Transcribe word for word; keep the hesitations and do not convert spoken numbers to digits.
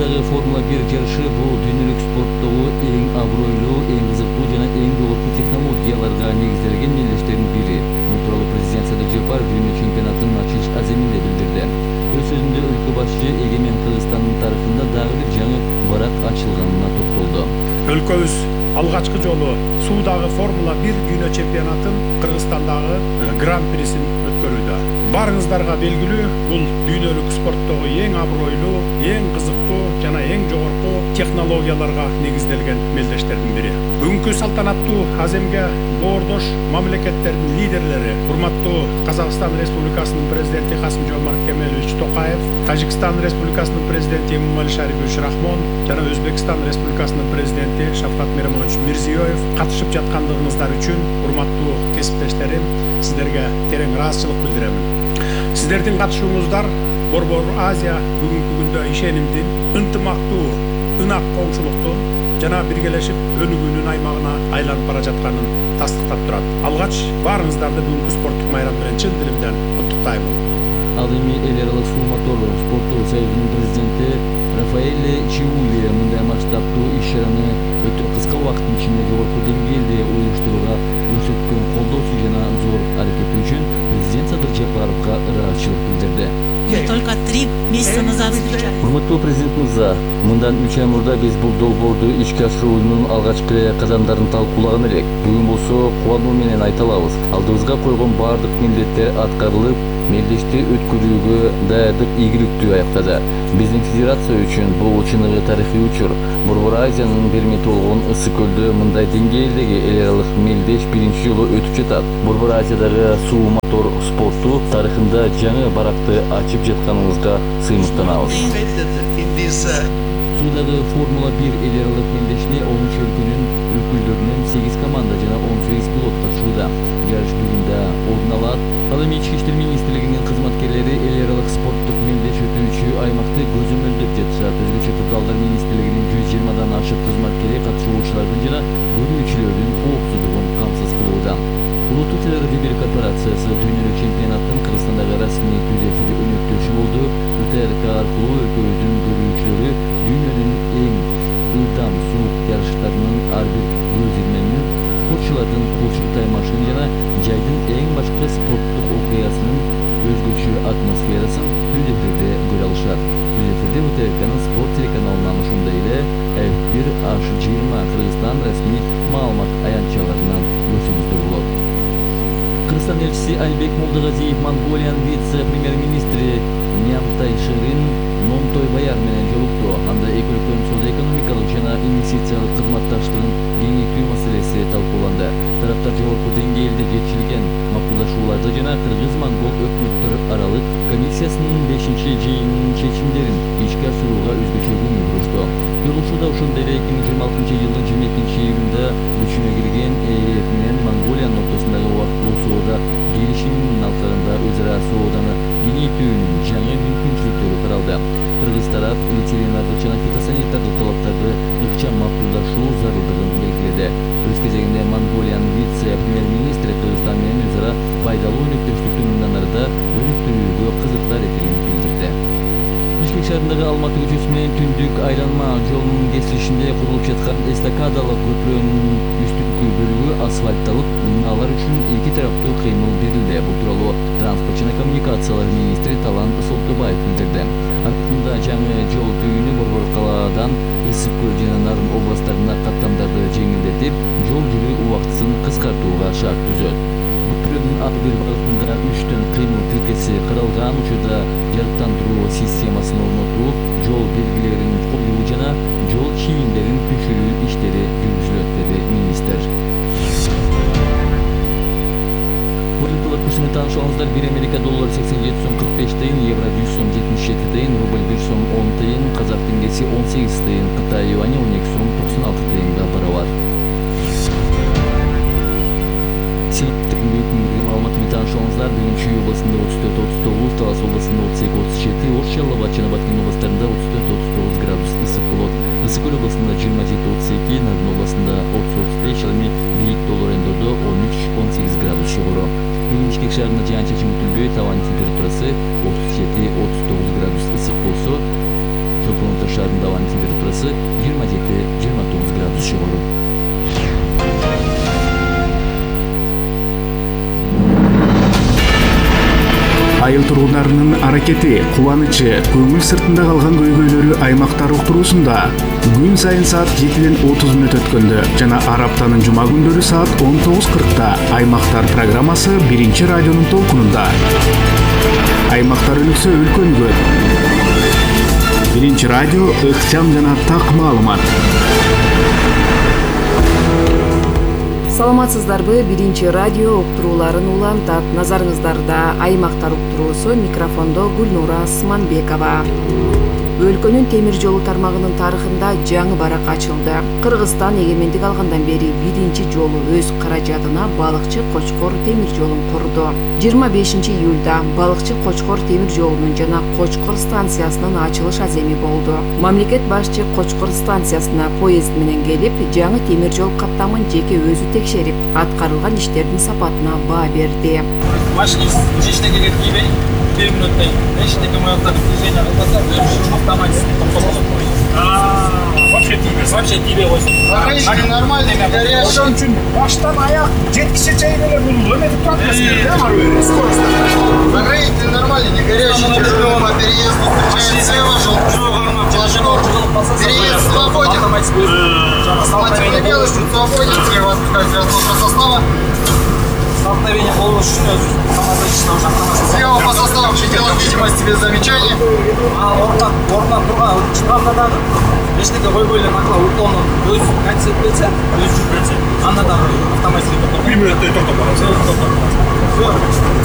Суудагы Формула бир жарышы бул дүйнөлүк спорттогу эң абройлуу, эң кызыктуу жана эң жогорку технологияларга негизделген мелдештердин бири. Бул тууралуу президент Садыр Жапаров дүйнө чемпионатынын ачылыш аземинде билдирди. Өз сөзүндө өлкө башчы эгемен Кыргызстандын тарыхында дагы бир жаңы барак ачылганына токтолду. Өлкөбүз алгачкы жолу Суудагы Формула бир дүйнө чемпионатын Кыргызстандагы гран-присин өткөрүүдө. Барыңыздарга белгилүү, бул дүйнөлүк спорттогу эң абройлуу, эң кызыктуу жана эң жогорку технологияларга негизделген мелдештердин бири. Бүгүнкү салтанаттуу аземге боордош мамлекеттердин лидерлери, урматтуу Казакстан Республикасынын президенти Касым-Жомарт Кемелович Токаев, Тажикстан Республикасынын президенти Эмомали Шарипович Рахмон жана Өзбекстан Республикасынын президенти Шавкат Миромонович Мирзиёев катышып жаткандыгыңыздар үчүн, урматтуу кесиптештерим, сиздерге терең ыраазычылык билдиремин. Сиздердин катышууңуздар Борбор Азия бүгүнкү күндө ишенимдин, ынтымактуу, ынак коңшулуктун жана биргелешип өнүгүүнүн аймагына айланып бара жатканын тастыктап турат. Алгач баарыңыздарды бүгүнкү спорттук майрам менен чын дилимден куттуктаймын. Ал эми эл аралык суу мотор спортту союзунун президенти Рафаэле Чиули мындай масштабтуу иш-чараны өтө кыска убакыттын ичинде жогорку деңгээлде уюштурууга көрсөткөн колдоосу жана зор аракети үчүн президент Садыр Жапаровго ыраазычылык билдирди. Мы только три месяца назад встречались. Урматтуу президент мырза, мындан үч ай мурда биз бул долбоорду ишке ашыруунун алгачкы кадамдарын талкуулаган элек. Бүгүн болсо кубануу менен айта алабыз. Алдыбызга койгон баардык милдеттер аткарылып, мелдешти өткөрүүгө даярдык ийгиликтүү аяктады. Биздин федерация үчүн бул чыныгы тарыхый учур. Борбор Азиянын бермети болгон Ысык көлдө мындай деңгээлдеги эл аралык мелдеш биринчи жолу өтүп жатат. Борбор Азиядагы суу мотор спорту тарыхында жаңы баракты ачып жатканыбызга сыймыктанабыз. Суудагы Формула бир эл аралык мелдешине он үч өлкөнүн өкүлдөрүнөн сегиз команда жана он сегиз пилот катышууда. Жарыш бүгүндө орун алат. Ал эми Ички иштер министрлигинин кызматкерлери эл аралык спорттук мелдеш өтүүчү аймакты көзөмөлдөп жатышат. Өзгөчө Кырдаалдар министрлигинин жүз жыйырмадан ашык кызматкери катышуучулардын жана көрүүчүлөрдүн коопсуздугун камсыз кылууда. Улуттук телерадио корпорациясы дүйнөлүк чемпионаттын Кыргызстандагы расмий түз эфир өнөктөшү болду. УТРК аркылуу өлкөбүздүн көрүүчүлөрү дүйнөнүн эң ылдам суу жарыштарынын ар бир көрсөтмөнүн, спортчулардын кулчук таймашын жана жайдын эң башкы спорттук окуясынын өзгөчө атмосферасын түз эфирде көрө алышат. Түз эфирде УТРКнын спорт телеканалынан ошондой эле эф бир аш жыйырма Кыргызстан расмий маалымат аянтчаларынан көрсөңүздөр болот. Кыргызстан элчиси Албек Молдогазиев Монголиянын вице-премьер-министри Нямтай Шырин Номтой Баяр менен жолукту. Анда эки өлкөнүн соода-экономикалык жана инвестициялык кызматташтыгын кеңейтүү маселеси талкууланды. Тараптар жогорку деңгээлде жетишилген макулдашууларды жана Кыргыз-Монгол өкмөттөр аралык комиссиясынын бешинчи жыйынынын чечимдерин ишке ашырууга өзгөчө көңүл бурушту. Жолугушууда ошондой эле эки миң жыйырма алтынчы жылдын жыйырма экинчи июлунда күчүнө кирген ЭЭФ менен Монголиянын ортосундагы убактылуу соода келишиминин алкагында өз ара сооданы кеңейтүүнүн жаңы мүмкүнчүлүктөрү каралды. Кыргыз тарап ветеринардык жана фитосанитардык талаптарды ыкчам макулдашуу зарылдыгын белгиледи. Өз кезегинде Монголиянын вице-премьер-министри Кыргызстан менен өз ара пайдалуу өнөктөштүктү мындан арыда өнүктүрүүгө кызыктар экенин билдирди. Бишкек шаарындагы Алматы көчөсү менен Түндүк айланма жолунун кесилишинде курулуп жаткан эстакадалык көпүрөнүн үстүнкү бөлүгү асфальтталып, алар үчүн эки тараптуу кыймыл берилди. Бул тууралуу транспорт жана коммуникациялар министри Талан Солтобаев билдирди. Артында жаңы жол түйүнү Борбор калаадан Ысык көл жана Нарын областтарына каттамдарды жеңилдетип, жол жүрүү убактысын кыскартууга шарт түзөт. Көпүрөнүн ар бир багытында үчтөн кыймыл тиркеси каралган учурда жарыктандыруу системасын орнотуу, жол белгилерин коюу жана жол чийимдерин түшүрүү иштери жүргүзүлөт, деди министр. Валюталык курсуна тааныш алыңыздар. Бир Америка доллары сексен жети сом кырк беш тыйын, евро жүз сом жетимиш жети тыйын, рубль бир сом он тыйын, казак теңгеси он сегиз тыйын, Кытай юани он эки сом токсон алты тыйынга барабар. Синоптик маалыматы менен тааныш алыңыздар. Бүгүн Чүй областында отуз төрт отуз тогуз, Талас областында отуз эки отуз жети, Ош, Жалал Абад жана Баткен областарында отуз төрт отуз тогуз градус ысык болот. Ысык көл областында жыйырма жети отуз эки, Нарын областында отуз отуз беш, ал эми Бийик Тоолор Эндодо он үч он сегиз градус жогору. Бүгүн Бишкек шаарында жаан-чачын күтүлбөй, табан температурасы отуз жети отуз тогуз градус ысык болсо, Жолконута шаарында температурасы жыйырма жети жыйырма тогуз градус жогору. Айыл тургундарынын аракети, кубанычы, көңүл сыртында калган көйгөйлөрү аймактар уктуруусунда күн сайын саат жетиден отуз мүнөт өткөндө жана ар аптанын жума күндөрү саат он тогуз кыркта Аймактар программасы биринчи радионун толкунунда. Аймактар өнүксө өлкө өнүгөт. Биринчи радио ыкчам жана так маалымат. Саламатсыздарбы? Биринчи радио уктурууларын улантат. Назарыңыздарда Аймактар уктуруусу, микрофондо Гүлнура Асманбекова. Өлкөнүн темир жолу тармагынын тарыхында жаңы барак ачылды. Кыргызстан эгемендик алгандан бери биринчи жолу өз каражатына балыкчы Кочкор темир жолун курду. жыйырма бешинчи июлда балыкчы Кочкор темир жолунун жана Кочкор станциясынын ачылыш аземи болду. Мамлекет башчы Кочкор станциясына поезд менен келип, жаңы темир жол каттамын жеке өзү текшерип, аткарылган иштердин сапатына баа берди. Машинист жиштеге кетпей, бир мүнөттөн эчтеке моюктап движение кылбаса, автоматически токтолот. Вообще тийбес. Вообще тийбей койсун. Они нормальный, горячий. Ошон үчүн баштан аяк жеткиче чейин эле бул эметип турат эмеспи, да, марвер, скорость. Покрытие нормально, не горячий, тяжелый по переезду, встречает слева, желтый. Переезд свободен. Автоматически белый, свободен, слева отпускается разноска состава. Столкновение болуш үчүн өзү самозащита уже автоматически. Слева по составу пределах видимости без замечаний. А ордон, ордон турган чыганда дагы эчтеке койбой эле накла уклонун өз кантип кетсе, өз жүрүп кетсе, анда дагы автоматически токтоп. бир мүнөттөй токтоп барат. Токтоп барат.